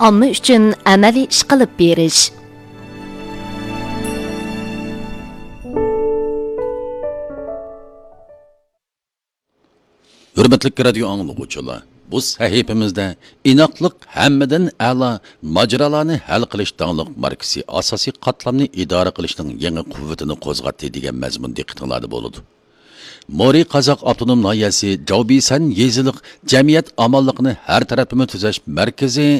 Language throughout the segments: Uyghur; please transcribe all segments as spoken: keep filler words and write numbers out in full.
ئامما ئۈچۈن ئەمەلىي ئىش قىلىپ بېرىش. ھۆرمەتلىك رادىيو ئاڭلىغۇچىلار، بۇ سەھىپىمىزدە ئىناقلىق ھەممىدىن ئەلا، ماجىرالارنى ھەل قىلىش داڭلىق ماركىسى ئاساسىي قاتلامنى ئىدارە قىلىشنىڭ يېڭى قۇۋۋىتىنى قوزغاتتى دېگەن مەزمۇن دىققىتىڭلاردا بولىدۇ. مورى قازاق ئاپتونوم ناھىيەسى جاۋبىسەن يېزىلىق جەمئىيەت ئامانلىقىنى ھەر تەرەپلىمە تۈزەش مەركىزى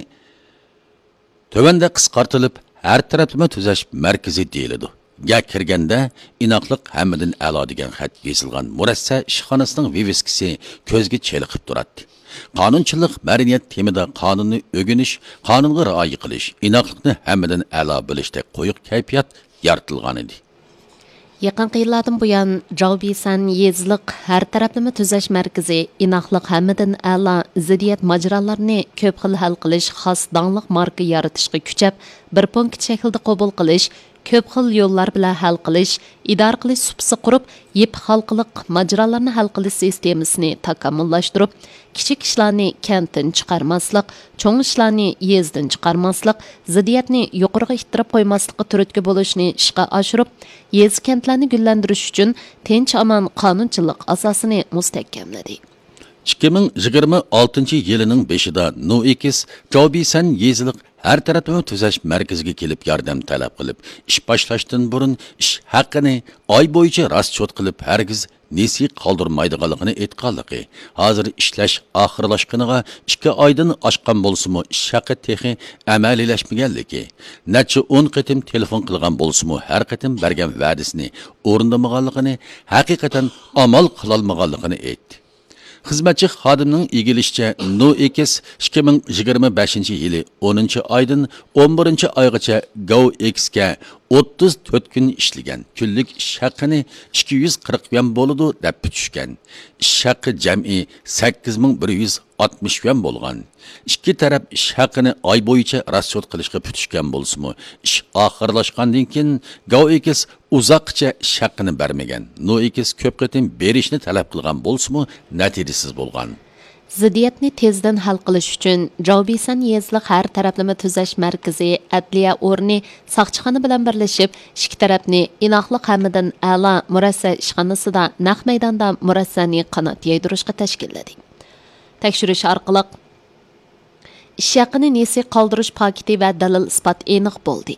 تۆۋەندە قىسقارتىلىپ، ھەر تەرەپلىمە تۈزەش مەركىزى دېيىلىدۇ. گە كىرگەندە، ئىناقلىق ھەممىدىن ئەلا دېگەن خەت يېزىلغان مۇرەسسە ئىشخانىسىنىڭ ۋىۋىسكىسى كۆزگە چېلىقىپ تۇراتتى. قانۇنچىلىق، مەدەنىيەت تېمىدا قانۇننى ئۆگىنىش، قانۇنغا رىئايە قىلىش، ئىناقلىقنى ھەممىدىن ئەلا بىلىشتەك قويۇق كەيپىيات يارىتىلغانىدى. يېقىنقى يىللاردىن بۇيان، جاۋبىسەن يېزىلىق ھەر تەرەپلىمە تۈزەش مەركىزى ئىناقلىق ھەممىدىن ئەلا، زىددىيەت ماجىرالارنى كۆپ خىل ھەل قىلىش خاس داڭلىق ماركا يارىتىشقا كۈچەپ، بىر پونكىت شەكلىدە قوبۇل قىلىش، كۆپ خىل يوللار بىلەن ھەل قىلىش، ئىدارە قىلىش سۇپىسى قۇرۇپ، يىپ ھالقىلىق ماجىرالارنى ھەل قىلىش سىستېمىسىنى تاكامۇللاشتۇرۇپ، كىچىك ئىشلارنى كەنتتىن چىقارماسلىق، چوڭ ئىشلارنى يېزىدىن چىقارماسلىق، زىددىيەتنى يۇقىرىغا ئىتتىرىپ قويماسلىققا تۈرتكە بولۇشنى ئىشقا ئاشۇرۇپ، يېزا، كەنتلەرنى گۈللەندۈرۈش ئۈچۈن تىنچ-ئامان قانۇنچىلىق ئاساسىنى مۇستەھكەملىدى. ئىككى مىڭ يىگىرمە ئالتىنچى يىلىنىڭ بېشىدا نوئېكس جاۋبىسەن يېزىلىق ھەر تەرەپلىمە تۈزەش مەركىزىگە كېلىپ ياردەم تەلەپ قىلىپ، ئىش باشلاشتىن بۇرۇن ئىش ھەققىنى ئاي بويىچە راسچوت قىلىپ، ھەرگىز نېسى قالدۇرمايدىغانلىقىنى ئېيتقانلىقى، ھازىر ئىشلەش ئاخىرلاشقىنىغا ئىككى ئايدىن ئاشقان بولسىمۇ، ئىش ھەققى تېخى ئەمەلىيلەشمىگەنلىكى، نەچچە ئون قېتىم تېلېفون قىلغان بولسىمۇ، ھەر قېتىم بەرگەن ۋەدىسىنى ئورۇندىمىغانلىقىنى، ھەقىقەتەن ئامال قىلالمىغانلىقىنى ئېيتتى. خىزمەتچى خادىمنىڭ ئىگىلىشىچە، نوئېكس ئىككى مىڭ يىگىرمە بەشىنچى يىلى ئونىنچى ئايدىن ئون بىرىنچى ئايغىچە گاۋ ئېكسكە ئوتتۇز تۆت كۈن ئىشلىگەن، كۈنلۈك ئىش ھەققىنى ئىككى يۈز قىرىق يۈەن بولىدۇ دەپ پۈتۈشكەن. ئىش ھەققى جەمئىي سەككىز مىڭ بىر يۈز ئاتمىش يۈەن بولغان. ئىككى تەرەپ ئىش ھەققىنى ئاي بويىچە راسچوت قىلىشقا پۈتۈشكەن بولسىمۇ، ئىش ئاخىرلاشقاندىن كېيىن گاۋ ئېكس ئۇزاققىچە ئىش ھەققىنى بەرمىگەن. نوئېكس كۆپ قېتىم بېرىشنى تەلەپ قىلغان بولسىمۇ، نەتىجىسىز بولغان. زىددىيەتنى تېزدىن ھەل قىلىش ئۈچۈن، جاۋبىسەن يېزىلىق ھەر تەرەپلىمە تۈزەش مەركىزى، ئەدلىيە ئورنى، ساقچىخانا بىلەن بىرلىشىپ، ئىككى تەرەپنى ئىناقلىق ھەممىدىن ئەلا مۇرەسسە ئىشخانىسىدا نەق مەيداندا مۇرەسسەنى قانات يايدۇرۇشقا تەشكىللىدى. تەكشۈرۈش ئارقىلىق، ئىش ھەققىنى نېسى قالدۇرۇش پاكىتى ۋە دەلىل-ئىسپات ئېنىق بولدى.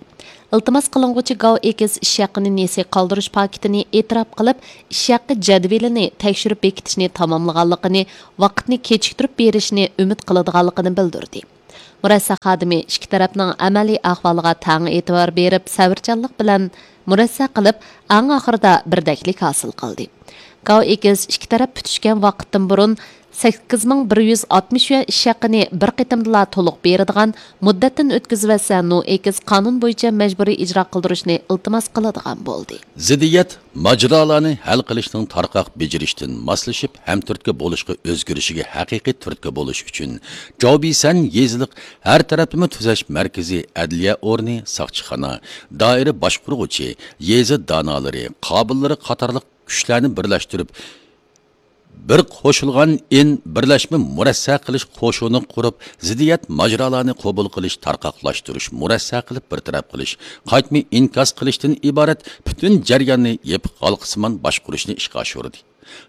ئىلتىماس قىلىنغۇچى گاۋ ئېكس ئىش ھەققىنى نېسى قالدۇرۇش پاكىتىنى ئېتىراپ قىلىپ، ئىش ھەققى جەدۋىلىنى تەكشۈرۈپ بېكىتىشنى تاماملىغانلىقىنى، ۋاقىتنى كېچىكتۈرۈپ بېرىشنى ئۈمىد قىلىدىغانلىقىنى بىلدۈردى. مۇرەسسە خادىمى ئىككى تەرەپنىڭ ئەمەلىي ئەھۋالىغا تەڭ ئېتىبار بېرىپ، سەۋرچانلىق بىلەن مۇرەسسە قىلىپ، ئەڭ ئاخىرىدا بىردەكلىك ھاسىل قىلدى. گاۋ ئېكس ئىككى تەرەپ پۈتۈشكەن ۋاقىتتىن بۇرۇن سەككىز مىڭ بىر يۈز ئاتمىش يۈەن ئىش ھەققىنى بىر قېتىمدىلا تولۇق بېرىدىغان، مۇددەتتىن ئۆتكۈزۈۋەتسە، نوئېكس قانۇن بويىچە مەجبۇرىي ئىجرا قىلدۇرۇشنى ئىلتىماس قىلىدىغان بولدى. زىددىيەت ماجىرالارنى ھەل قىلىشنىڭ تارقاق بېجىرىشتىن ماسلىشىپ، ھەمتۈرتكە بولۇشقا ئۆزگىرىشىگە ھەقىقىي تۈرتكە بولۇش ئۈچۈن، جاۋبىسەن يېزىلىق ھەر تەرەپلىمە تۈزەش مەركىزى، ئەدلىيە ئورنى، ساقچىخانا، دائىرە باشقۇرغۇچى، يېزا دانالىرى، قابىللىرى قاتارلىق كۈچلەرنى بىرلەشتۈرۈپ، بىر قوشۇلغان ئىن بىرلەشمە مۇرەسسە قىلىش قوشۇنى قۇرۇپ، زىددىيەت ماجىرالارنى قوبۇل قىلىش، تارقاقلاشتۇرۇش، مۇرەسسە قىلىپ بىر تەرەپ قىلىش، قايتما ئىنكاس قىلىشتىن ئىبارەت پۈتۈن جەرياننى يېپىق ھالقىسىمان باشقۇرۇشنى ئىشقا ئاشۇردى.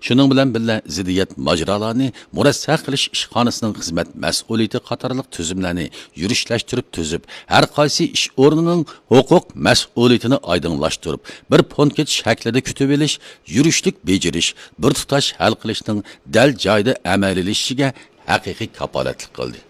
شۇنىڭ بىلەن بىللە، زىددىيەت ماجىرالارنى مۇرەسسە قىلىش ئىشخانىسىنىڭ خىزمەت مەسئۇلىيىتى قاتارلىق تۈزۈملەرنى يۈرۈشلەشتۈرۈپ تۈزۈپ، ھەر قايسى ئىش ئورنىنىڭ ھوقۇق مەسئۇلىيىتىنى ئايدىڭلاشتۇرۇپ، بىر پونكىت شەكلىدە كۈتۈۋېلىش، يۈرۈشلۈك بېجىرىش، بىر تۇتاش ھەل قىلىشنىڭ دەل جايىدا ئەمەلىيلىشىشىگە ھەقىقىي كاپالەتلىك قىلدى.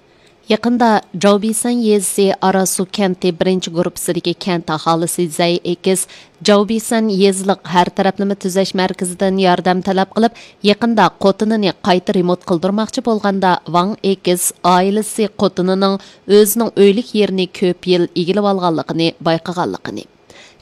يېقىندا جاۋبىسەن يېزىسى ئاراسۇ كەنتى بىرىنچى گۇرۇپپىسىدىكى كەنت ئاھالىسى زەي ئېكىس جاۋبىسەن يېزىلىق ھەر تەرەپلىمە تۈزەش مەركىزىدىن ياردەم تەلەپ قىلىپ، يېقىندا قوتىنىنى قايتا رېمونت قىلدۇرماقچى بولغاندا، ۋاڭ ئېكىس ئائىلىسى قوتىنىنىڭ ئۆزىنىڭ ئۆيلۈك يېرىنى كۆپ يىل ئىگىلىۋالغانلىقىنى بايقىغانلىقىنى،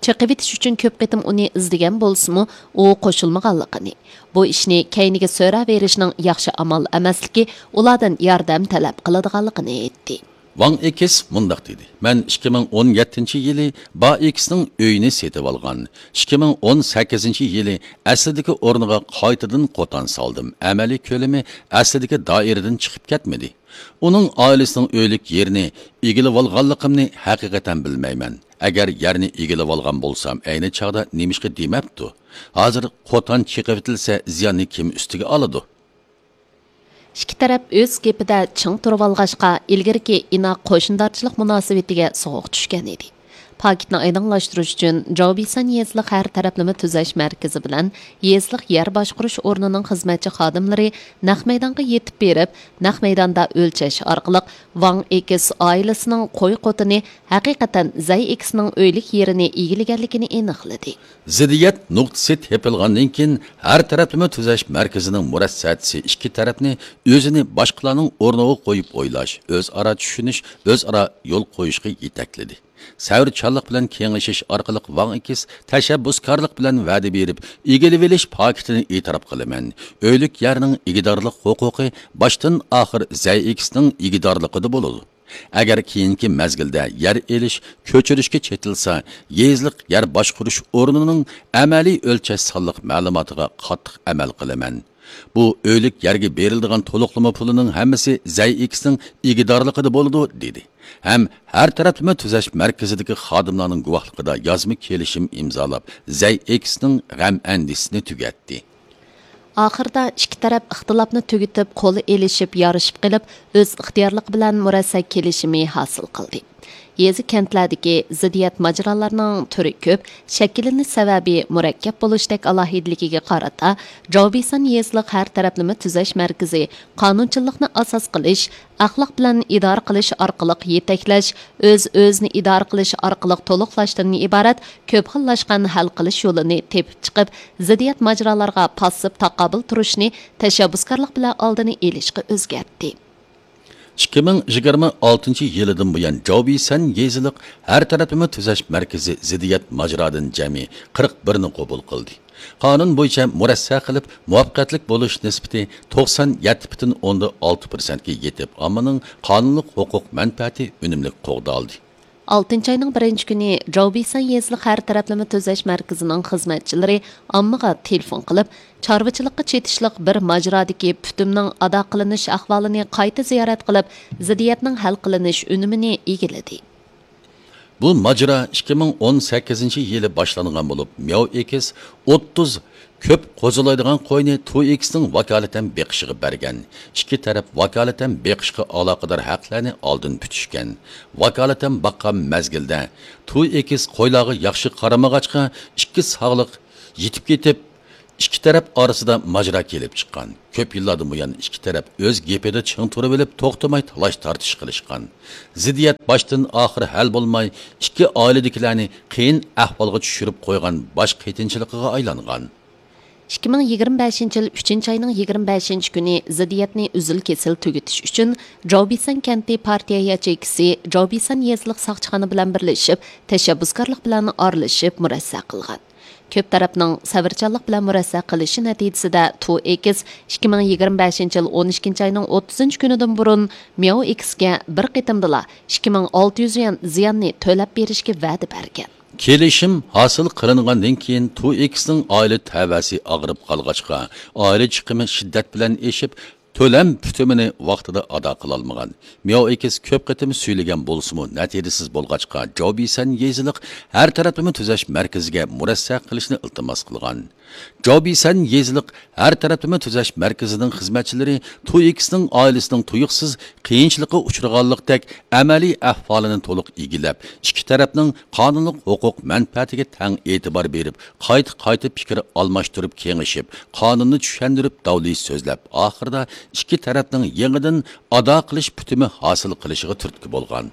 چېقىۋېتىش ئۈچۈن كۆپ قېتىم ئۇنى ئىزدىگەن بولسىمۇ، ئۇ قوشۇلمىغانلىقىنى، بۇ ئىشنى كەينىگە سۆرەۋېرىشنىڭ ياخشى ئامال ئەمەسلىكى، ئۇلاردىن ياردەم تەلەپ قىلىدىغانلىقىنى ئېيتتى. ۋاڭ ئېكس مۇنداق دېدى: مەن ئىككى مىڭ ئون يەتتىنچى يىلى با ئېكسنىڭ ئۆيىنى سېتىۋالغان. ئىككى مىڭ ئون سەككىزىنچى يىلى ئەسلىدىكى ئورنىغا قايتىدىن قوتان سالدىم. ئەمەلىي كۆلىمى ئەسلىدىكى دائىرىدىن چىقىپ كەتمىدى. ئۇنىڭ ئائىلىسىنىڭ ئۆيلۈك يېرىنى ئىگىلىۋالغانلىقىمنى ھەقىقەتەن بىلمەيمەن. ئەگەر يەرنى ئىگىلىۋالغان بولسام، ئەينى چاغدا نېمىشقا دېمەپتۇ؟ ھازىر قوتان چېقىۋېتىلسە، زىياننى كىم ئۈستىگە ئالىدۇ؟ ئىككى تەرەپ ئۆز گېپىدە چىڭ تۇرۇۋالغاچقا، ئىلگىرىكى ئىناق قوشنىدارچىلىق مۇناسىۋىتىگە سوغۇق چۈشكەن ئىدى. پاكىتنى ئايدىڭلاشتۇرۇش ئۈچۈن، جاۋبىسەن يېزىلىق ھەر تەرەپلىمە تۈزەش مەركىزى بىلەن يېزىلىق يەر باشقۇرۇش ئورنىنىڭ خىزمەتچى خادىملىرى نەق مەيدانغا يېتىپ بېرىپ، نەق مەيداندا ئۆلچەش ئارقىلىق ۋاڭ ئېكس ئائىلىسىنىڭ قوي قوتىنى ھەقىقەتەن زەي ئېكسنىڭ ئۆيلۈك يېرىنى ئىگىلىگەنلىكىنى ئېنىقلىدى. زىددىيەت نۇقتىسى تېپىلغاندىن كېيىن، ھەر تەرەپلىمە تۈزەش مەركىزىنىڭ مۇرەسسەسى ئىككى تەرەپنى ئۆزىنى باشقىلارنىڭ ئورنىغا قويۇپ ئويلاش، ئۆزئارا چۈشىنىش، ئۆزئارا يول قويۇشقا يېتەكلىدى. سەۋرچانلىق بىلەن كېڭىشىش ئارقىلىق ۋاڭ ئېكس تەشەببۇسكارلىق بىلەن ۋەدە بېرىپ، ئىگىلىۋېلىش پاكىتىنى ئېتىراپ قىلىمەن. ئۆيلۈك يەرنىڭ ئىگىدارلىق ھوقۇقى باشتىن ئاخىر زەي ئېكسنىڭ ئىگىدارلىقىدا بولىدۇ. ئەگەر كېيىنكى مەزگىلدە يەر ئېلىش، كۆچۈرۈشكە چېتىلسا، يېزىلىق يەر باشقۇرۇش ئورنىنىڭ ئەمەلىي ئۆلچەش سانلىق مەلۇماتىغا قاتتىق ئەمەل قىلىمەن. بۇ ئۆيلۈك يەرگە بېرىلىدىغان تولۇقلىما پۇلىنىڭ ھەممىسى زەي ئېكسنىڭ ئىگىدارلىقىدا بولىدۇ، دېدى. ھەم ھەر تەرەپلىمە تۈزەش مەركىزىدىكى خادىملارنىڭ گۇۋاھلىقىدا يازما كېلىشىم ئىمزالاپ، زەي ئېكسنىڭ غەم ئەندىشىسىنى تۈگەتتى. ئاخىرىدا ئىككى تەرەپ ئىختىلاپنى تۈگىتىپ، قول ئېلىشىپ، يارىشىپ قېلىپ، ئۆز ئىختىيارلىقى بىلەن مۇرەسسە كېلىشىمى ھاسىل قىلدى. يېزا، كەنتلەردىكى زىددىيەت ماجىرالارنىڭ تۈرى كۆپ، شەكىللىنىش سەۋەبى مۇرەككەپ بولۇشتەك ئالاھىدىلىكىگە قارىتا، جاۋبىسان يېزىلىق ھەر تەرەپلىمە تۈزەش مەركىزى قانۇنچىللىقنى ئاساس قىلىش، ئەخلاق بىلەن ئىدارە قىلىش ئارقىلىق يېتەكلەش، ئۆز-ئۆزىنى ئىدارە قىلىش ئارقىلىق تولۇقلاشتىن ئىبارەت كۆپ خىللاشقان ھەل قىلىش يولىنى تېپىپ چىقىپ، زىددىيەت ماجىرالارغا پاسسىپ تاقابىل تۇرۇشنى تەشەببۇسكارلىق بىلەن ئالدىنى ئېلىشقا ئۆزگەرتتى. ئىككى مىڭ يىگىرمە ئالتىنچى يىلىدىن بۇيان، جاۋبىسەن يېزىلىق ھەر تەرەپلىمە تۈزەش مەركىزى زىددىيەت ماجىرادىن جەمئىي قىرىق بىرنى قوبۇل قىلدى. قانۇن بويىچە مۇرەسسە قىلىپ، مۇۋەپپەقىيەتلىك بولۇش نىسبىتى توقسان يەتتە پۈتۈن ئوندىن ئالتە پىرسەنتكە يېتىپ، ئاممىنىڭ قانۇنلۇق ھوقۇق مەنپەئەتى ئۈنۈملۈك قوغدالدى. ئالتىنچى ئاينىڭ بىرىنچى كۈنى جاۋبىسەن يېزىلىق ھەر تەرەپلىمە تۈزەش مەركىزىنىڭ خىزمەتچىلىرى ئاممىغا تېلېفون قىلىپ، چارۋىچىلىققا چېتىشلىق بىر ماجىرادىكى پۈتۈمنىڭ ئادا قىلىنىش ئەھۋالىنى قايتا زىيارەت قىلىپ، زىددىيەتنىڭ ھەل قىلىنىش ئۈنۈمىنى ئىگىلىدى. بۇ ماجىرا ئىككى مىڭ ئون سەككىزىنچى يىلى باشلانغان بولۇپ، مياۋ ئېكس ئوتتۇز كۆپ قوزىلايدىغان قوينى تو ئېكسنىڭ ۋاكالىتەن بېقىشىغا بەرگەن. ئىككى تەرەپ ۋاكالىتەن بېقىشقا ئالاقىدار ھەقلەرنى ئالدىن پۈتۈشكەن. ۋاكالىتەن باققان مەزگىلدە تو ئېكس قويلارغا ياخشى قارىمىغاچقا، ئىككى ساغلىق يىتىپ كېتىپ، ئىككى تەرەپ ئارىسىدا ماجىرا كېلىپ چىققان. كۆپ يىللاردىن بۇيان ئىككى تەرەپ ئۆز گېپىدە چىڭ تۇرۇۋېلىپ، توختىماي تالاش-تارتىش قىلىشقان. زىددىيەت باشتىن ئاخىر ھەل بولماي، ئىككى ئائىلىدىكىلەرنى قىيىن ئەھۋالغا چۈشۈرۈپ قويغان باش قېتىنچىلىقىغا ئايلانغان. ئىككى مىڭ يىگىرمە بەشىنچى يىل ئۈچىنچى ئاينىڭ يىگىرمە بەشىنچى كۈنى زىددىيەتنى ئۈزۈل-كېسىل تۈگىتىش ئۈچۈن، جاۋبىسەن كەنتى پارتىيە ياچېيكىسى جاۋبىسەن يېزىلىق ساقچىخانا بىلەن بىرلىشىپ، تەشەببۇسكارلىق بىلەن ئارىلىشىپ مۇرەسسە قىلغان. كۆپ تەرەپنىڭ سەۋرچانلىق بىلەن مۇرەسسە قىلىشى نەتىجىسىدە، تو ئېكس ئىككى مىڭ يىگىرمە بەشىنچى يىل ئون ئىككىنچى ئاينىڭ ئوتتۇزىنچى كۈنىدىن بۇرۇن مياۋ ئېكسكە بىر قېتىمدىلا ئىككى مىڭ ئالتە يۈز يۈەن زىياننى تۆلەپ بېرىشكە ۋەدە بەرگەن. كېلىشىم ھاسىل قىلىنغاندىن كېيىن، تو ئېكسنىڭ ئائىلە تەۋەسى ئاغرىپ قالغاچقا، ئائىلە چىقىمى شىددەت بىلەن ئېشىپ، تۆلەم پۈتۈمىنى ۋاقتىدا ئادا قىلالمىغان. مياۋ ئېكس كۆپ قېتىم سۈيلىگەن بولسىمۇ، نەتىجىسىز بولغاچقا، جاۋبىسەن يېزىلىق ھەر تەرەپلىمە تۈزەش مەركىزىگە مۇرەسسە قىلىشنى ئىلتىماس قىلغان. جاۋبىسەن يېزىلىق ھەر تەرەپلىمە تۈزەش مەركىزىنىڭ خىزمەتچىلىرى تو ئېكسنىڭ ئائىلىسىنىڭ تۇيۇقسىز قىيىنچىلىققا ئۇچرىغانلىقتەك ئەمەلىي ئەھۋالىنى تولۇق ئىگىلەپ، ئىككى تەرەپنىڭ قانۇنلۇق ھوقۇق مەنپەئەتىگە تەڭ ئېتىبار بېرىپ، قايتا-قايتا پىكىر ئالماشتۇرۇپ كېڭىشىپ، قانۇننى چۈشەندۈرۈپ داۋلىي سۆزلەپ، ئاخىرىدا ئىككى تەرەپنىڭ يېڭىدىن ئادا قىلىش پۈتۈمى ھاسىل قىلىشىغا تۈرتكە بولغان.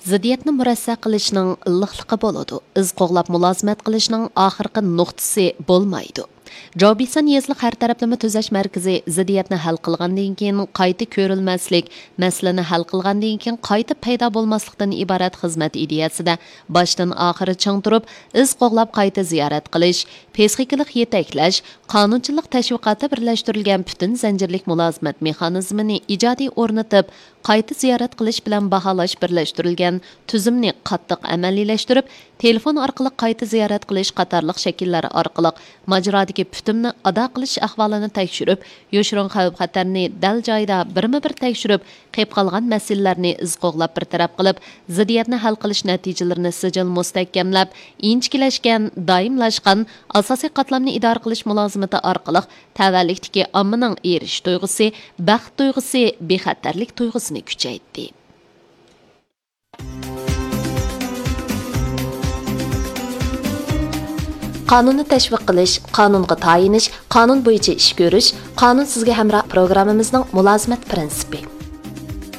زىددىيەتنى مۇرەسسە قىلىشنىڭ ئىللىقلىقى بولىدۇ، ئىز قوغلاپ مۇلازىمەت قىلىشنىڭ ئاخىرقى نۇقتىسى بولمايدۇ. جاۋبىسان يېزىلىق ھەر تەرەپلىمە تۈزەش مەركىزى زىددىيەتنى ھەل قىلغاندىن كېيىن قايتا كۆرۈلمەسلىك، مەسىلىنى ھەل قىلغاندىن كېيىن قايتا پەيدا بولماسلىقتىن ئىبارەت خىزمەت ئىدىيەسىدە باشتىن ئاخىر چىڭ تۇرۇپ، ئىز قوغلاپ قايتا زىيارەت قىلىش، پسىخىكىلىق يېتەكلەش، قانۇنچىلىق تەشۋىقاتى بىرلەشتۈرۈلگەن پۈتۈن زەنجىرلىك مۇلازىمەت مېخانىزمىنى ئىجادىي ئورنىتىپ، قايتا زىيارەت قىلىش بىلەن باھالاش بىرلەشتۈرۈلگەن تۈزۈمنى قاتتىق ئەمەلىيلەشتۈرۈپ، تېلېفون ئارقىلىق قايتا زىيارەت قىلىش قاتارلىق شەكىللەر ئارقىلىق ماجىرادىكى پۈتۈمنى ئادا قىلىش ئەھۋالىنى تەكشۈرۈپ، يوشۇرۇن خەۋپ-خەتەرنى دەل جايىدا بىرمۇ بىر تەكشۈرۈپ، قېلىپ قالغان مەسىلىلەرنى ئىز قوغلاپ بىر تەرەپ قىلىپ، زىددىيەتنى ھەل قىلىش نەتىجىلىرىنى سىجىل مۇستەھكەملەپ، ئىنچىكىلەشكەن، دائىملاشقان، ئاساسىي قاتلامنى ئىدارە قىلىش مۇلازىمىتى ئارقىلىق تەۋەلىكتىكى ئاممىنىڭ ئېرىشىش تۇيغۇسى، بەخت تۇيغۇسى، بىخەتەرلىك تۇيغۇسىنى كۈچەيتتى. قانۇننى تەشۋىق قىلىش، قانۇنغا تايىنىش، قانۇن بويىچە ئىش كۆرۈش، قانۇن سىزگە ھەمراھ پروگراممىمىزنىڭ مۇلازىمەت پىرىنسىپى.